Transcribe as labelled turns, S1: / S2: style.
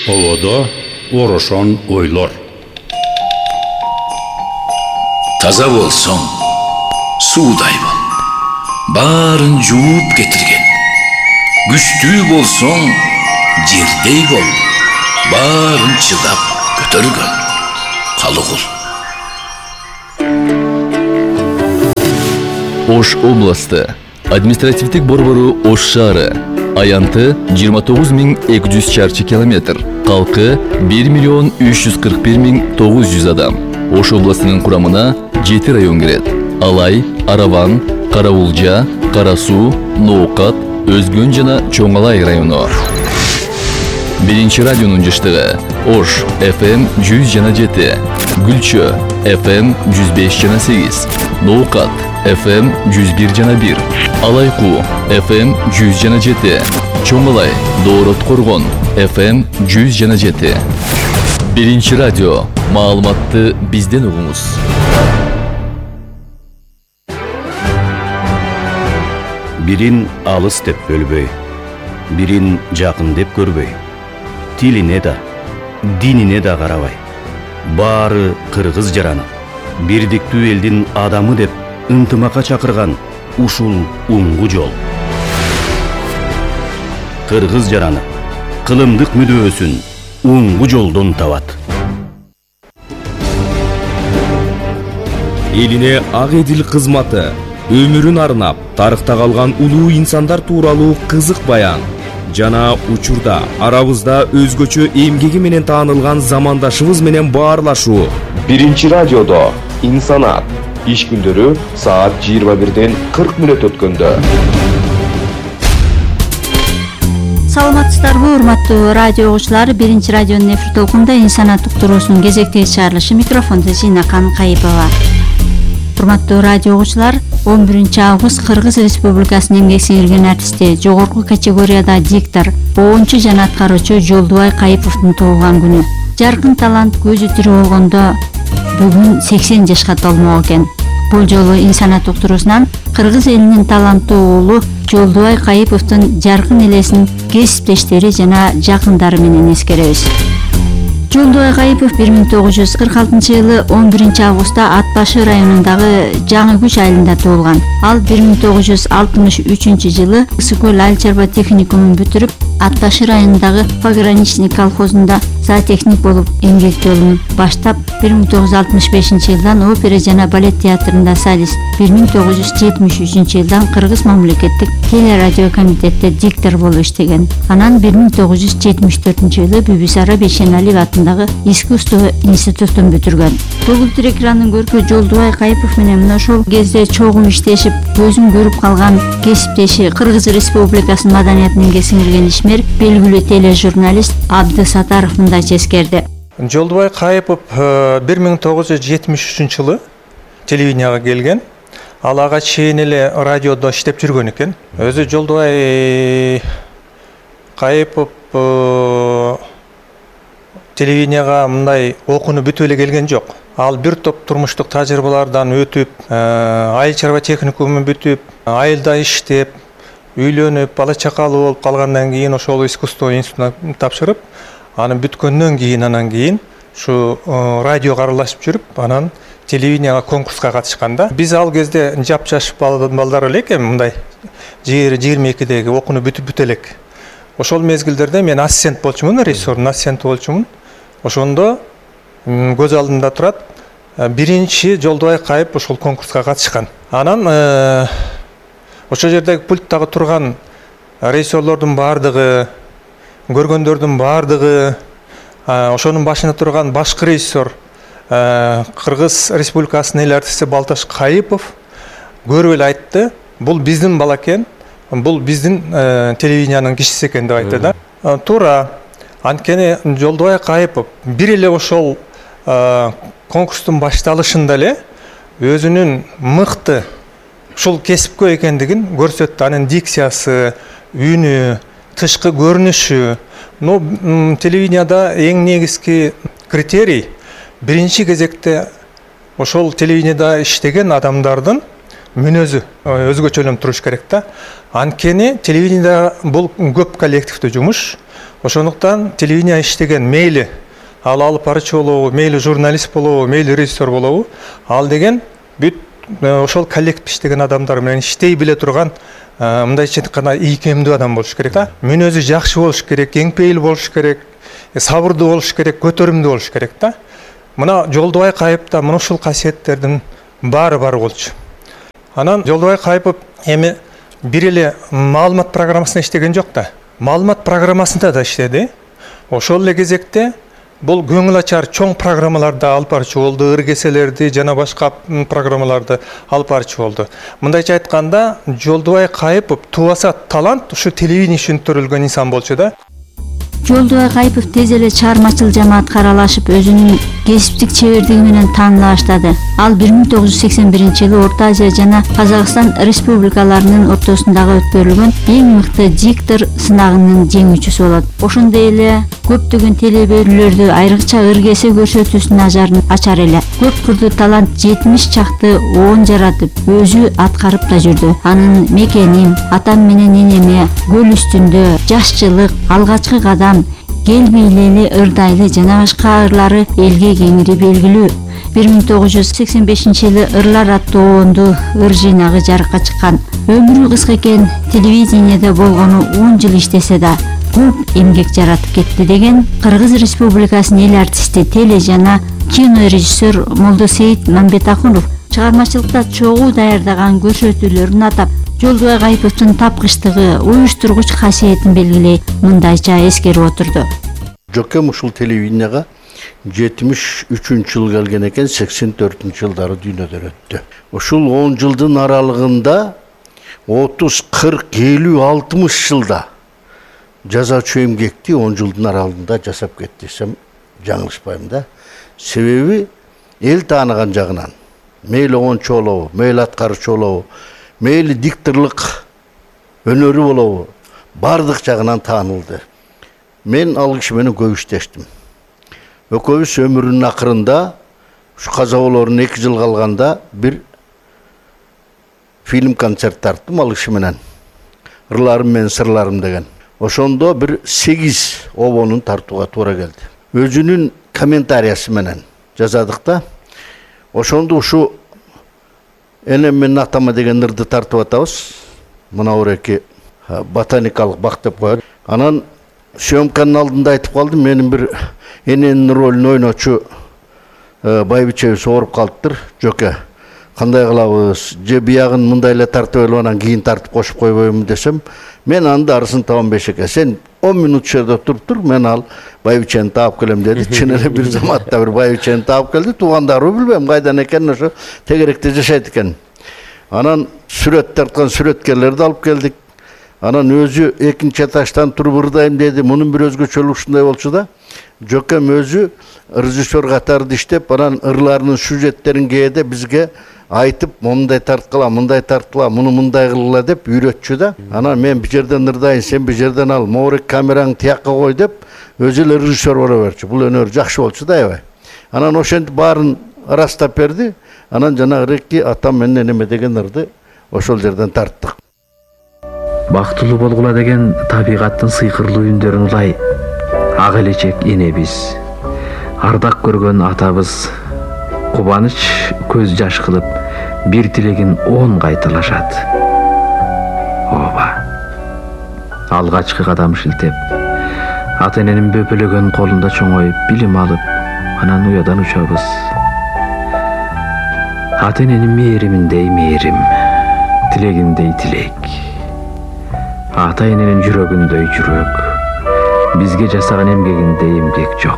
S1: Оводо орошон ойлор.
S2: Таза болсоң, суудай бол. Барын жууп кетирген. Күчтүү болсоң, жердей бол. Барын чыдап көтөргөн. Калыгул.
S3: Ош областы административдик борбору Ош шаары. Аянты 29.200 чарчы километр. Калкы 1.341.900 адам. Ош областынын курамына 7 район кирет. Алай, Араван, Караулжа, Карасуу, Ноокат, Өзгөн жана Чоңалай району. Биринчи радионун жыштыгы Ош FM 100,7, Гүлчө FM 105,8, Ноокат FM 101,1, Алайкуу FM 100,7, Чоңалай, Доорот Коргон FM 100,7. Биринчи радио, маалыматты бизден угуңуз.
S4: Бирин алыс деп бөлбөй, бирин жакын деп көрбөй, тилине да, динине да карабай, баары кыргыз жараны, бирдиктүү элдин адамы деп ынтымакка чакырган ушул уңгу жол. Кыргыз жараны кылымдык мүдөөсүн уңгу жолдон табат.
S5: Элине ак эдил кызматы, өмүрүн арнап, тарыхта калган улуу инсандар тууралуу кызык баян жана учурда арабызда өзгөчө эмгеги менен таанылган замандашыбыз менен баарлашуу.
S6: Биринчи радиодо инсанат иш күндөрү саат 21-ден 40 мүнөт өткөндө.
S7: Саламатсыздарбы, урматтуу радио угуучулар. Биринчи радионун эфир толкунунда инсанат уктуруусунун кезектеги чыгарылышы, микрофондо Зинакан Кайыпова. Урматтуу радио угуучулар, 11-август Кыргыз Республикасынын эмгек сиңирген артисти, жогорку категорияда диктор, оончу жана аткаруучу Жолдубай Кайыповдун туулган күнү. Жаркын талант көзү тирүү болгондо бүгүн 80 жашка толмок экен. Бул жолу инсанат уктуруусунан кыргыз элинин таланттуу уулу Жолдубай Кайыповдун жаркын элесин кесиптештери жана жакындары менен эскеребиз. Жолдубай Кайыпов 1946-жылы 11-августта Ат Башы районундагы Жаңы Күч айылында туулган. Ал 1963-жылы Ысык көл айыл чарба техникумун бүтүрүп, Ат Башы районундагы Пограничный колхозунда зоотехник болуп эмгек жолун баштап, 1965-жылдан опера жана балет театрында солист, 1973-жылдан Кыргыз мамлекеттик телерадио комитетте диктор болуп иштеген. Анан 1974-жылы Бибисара Бейшеналиев атындагы искусство институтун бүтүргөн. Көгүлтүр экрандын көркү Жолдубай Кайыпов менен мына ошол кезде чогуу иштешип, көзүн көрүп калган кесиптеши Кыргыз Республикасынын маданиятын эмгек сиңирген ишмер, белгилүү тележурналист Абдысатаров мындайча эскерди.
S8: Жолдубай Кайыпов 1973-жылы телевиденияга келген. Ал ага чейин эле радиодо иштеп жүргөн экен. Өзү Жолдубай Кайыпов телевиденияга мындай окууну бүтүп эле келген жок. Ал бир топ турмуштук тажрыйбалардан өтүп, айыл чарба техникумун бүтүп, айылда иштеп, үйлөнүп, бала чакалуу болуп калгандан кийин ошол искусство институтуна тапшырып, анын бүткөндөн кийин ушу радиого аралашып жүрүп, анан телевиденияга конкурска катышканда, биз ал кезде жап-жаш балдар эле экен, мындай 22-деги окууну бүтүп элек. Ошол мезгилдерде мен ассистент болчумун, режиссердун ассистенти болчумун. Ошондо көз алдымда турат, биринчи Жолдубай Кайыпов ошол конкурска катышкан. Анан ошол жердеги пульттагы турган режиссерлордун баардыгы, көргөндөрдүн баардыгы, ошонун башында турган башкы режиссер Кыргыз Республикасынын эл артисти Балташ Кайыпов көрүп эле айтты, бул биздин бала экен, бул биздин телевидениянын кишиси экен деп айтты да. Туура. Анткени Жолдубай Кайыпов бир эле ошол конкурстун башталышында эле өзүнүн мыкты ушул кесипкө экендигин көрсөттү. Анын дикциясы, үнү, тышкы көрүнүшү. Телевиденияда эң негизги критерий биринчи кезекте ошол телевиденияда иштеген адамдардын мүнөзү өзгөчөлөнүп туруш керек да. Анткени телевидениеда бул көп коллективдүү жумуш. Ошондуктан телевидение иштеген мейли ал алып барчу болобу, мейли журналист болобу, мейли режиссер болобу, ал деген бүт ошол коллектив иштеген адамдар менен иштей биле турган мындайча айтканда ийкемдүү адам болуш керек да. Мүнөзү жакшы болуш керек, кеңпейил болуш керек, сабырдуу болуш керек, көтөрүмдүү болуш керек да. Мына Жолдубай Кайыпта мына ушул касиеттердин баары бар болчу. Анан Жолдубай Кайыпов эми бир эле маалымат программасында иштеген жок да. Маалымат программасында да иштеди. Ошол эле кезекте бул көңүл ачар чоң программаларды алып барчу болду, ыргеселерди жана башка программаларды алып барчу болду. Мындайча айтканда, Жолдубай Кайыпов тубаса талант ушу телевидение үчүн төрөлгөн инсан болчу да.
S7: Жолдубай Кайыпов тез эле чыгармачыл жамаатка аралашып, өзүнүн кесиптик чебердиги менен тааныла баштады. Ал 1981-жылы Орто Азия жана Казакстан республикаларынын ортосундагы өткөрүлгөн эң мыкты диктор сынагынын жеңүүчүсү болот. Ошондой эле көптөгөн телеберүүлөрдү, айрыкча ыргесе көрсөтүүсүнүн ажарын ачар эле. Көп кырдуу талант 70 чакты оон жаратып, өзү аткарып да жүрдү. Анын Мекеним, Атам менен энеме, Көл үстүндө, Жашчылык, Алгачкы кадам, Кел бийлели ырдайлы жана башка ырлары элге кеңири белгилүү. 1985-жылы Ырлар аттуу оонду ыр жыйнагы жарыкка чыккан. Өмүрү кыска экен, телевидениеде болгону 10 жыл иштесе да көп эмгек жаратып кетти деген Кыргыз Республикасынын эл артисти, теле жана кино режиссер Молдосейит Мамбетахунов чыгармачылыкта чогуу даярдаган көрсөтүүлөрүн атап, Жолдубай Кайыповдун тапкычтыгы, уюштургуч касиетин белгилей мындайча эскерип отурду.
S9: Жокем ушул телевиденияга 73-жылы келген экен, 84-жылдары дүйнөдөн өттү. Ушул 10 жылдын аралыгында 30, 40, 50, 60 жылда жазачу эмгекти 10 жылдын аралыгында жасап кетти десем жаңылышпайм да. Себеби эл тааныган жагынан, мейли оончу болобу, мейли аткаруучу болобу, мейли дикторлук өнөрү болобу, бардык жагынан таанылды. Мен ал киши менен көп иштештим. Экөөбүз өмүрүнүн акырында, ушу каза болоорун 2 жыл калганда бир фильм концерт тарттым ал киши менен. Ырларым менен сырларым деген. Ошондо бир 8 обонун тартууга туура келди. Өзүнүн комментариясы менен жазадык да. Ошондо ушу энем менен атама деген ырды тартып атабыз. Мына ореки ботаникалык бак деп коет. Анан съемканын алдында айтып калдым, менин бир эненин ролун ойночу байбичебиз ооруп калыптыр. Жоке, кандай кылабыз? Же биягын мындай эле тартып эле анан кийин тартып кошуп койбоймун десем, мен анын дарысын табам Бешеке. Сен 10 минут жерде туруп тур, мен ал байбичени таап келем деди. Чын эле бир заматта бир байбичени таап келди. Туугандарыбы билбейм кайдан экенин, ошо тегеректе жашайт экен. Анан сүрөт тарткан сүрөткерлерди алып келдик. Анан өзү экинчи этаждан туруп ырдайм деди. Мунун бир өзгөчөлүгү ушундай болчу да. Жокем өзү режиссер катарында иштеп, анан ырларынын сюжеттерин кээде бизге айтып, мындай тарткыла, мындай тарткыла, муну мындай кылгыла деп үйрөтчү да. Анан мен бир жерден ырдайын, сен бир жерден ал, моорек камераңды тиякка кой деп өзү эле режиссер боло берчү. Бул өнөр жакшы болчу да аябай. Анан ошентип баарын ырастап берди. Анан жанагы атам менен энеме деген ырды ошол жерден тарттык.
S10: Бактылуу болгула деген табигаттын сыйкырлуу үндөрүн улай ак элечек энебиз, ардак көргөн атабыз кубаныч көз жаш кылып бир тилегин 10 кайталашат. Ооба. Алгачкы кадам шилтеп, ата эненин бөпөлөгөн колунда чоңоюп билим алып, анан уядан учабыз. Ата эненин мээриминдей мээрим, тилегиндей тилек. Ата эненин жүрөгүндөй жүрөк, бизге жасаган эмгегиндей эмгек жок.